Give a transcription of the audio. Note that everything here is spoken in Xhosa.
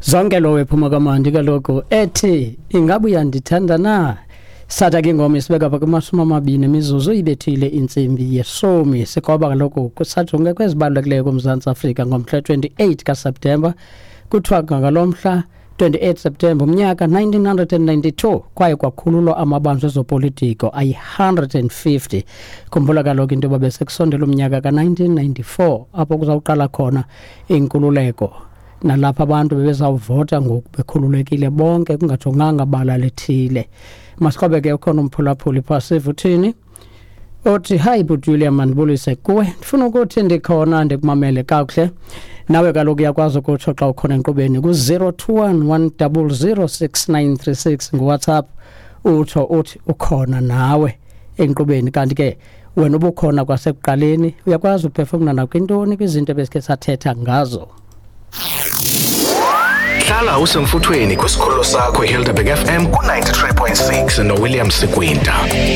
Zonke lowo ephuma kamandi kaloku ethi ingabe uyandithanda na. Satha ke ingoma isibeka pha kuma-20 imizuzu ibethile intsimbi yeshumi. Sikroba kaloku kusajonge kwezibalulekileyo kuMzantsi Afrika ngomhla 28 kaSeptemba. Kuthiwa ngalo mhla 28 Septemba umnyaka 1992 kwaye kwakhululwa amabanjwa ezopolitiko ayi-150. Khumbula kaloku into yoba besekusondela umnyaka ka-1994 apho kuzawuqala khona inkululeko, nalapho abantu bebezawuvota ngoku bekhululekile bonke kungajonganga bala lithile. Masiqobe ke, ukhona umphulaphuli phaa, sive uthini. Uthi, "Hayi bhuti William, mandibulise kuwe, ndifuna ukuthi ndikhona, ndikumamele kakuhle." Nawe kaloku uyakwazi ukutsho xa ukhona enkqubeni ku-021 100 6936 nguWhatsApp, utsho uthi ukhona nawe enkqubeni. Kanti ke wena ubukhona kwasekuqaleni, uyakwazi uphefumla nakwintoni kwizinto ebesikhe sathetha ngazo. Hlala usemfuthweni kwisikhululo sakho iHelderberg FM ku-93.6 noWilliam Sikwinta.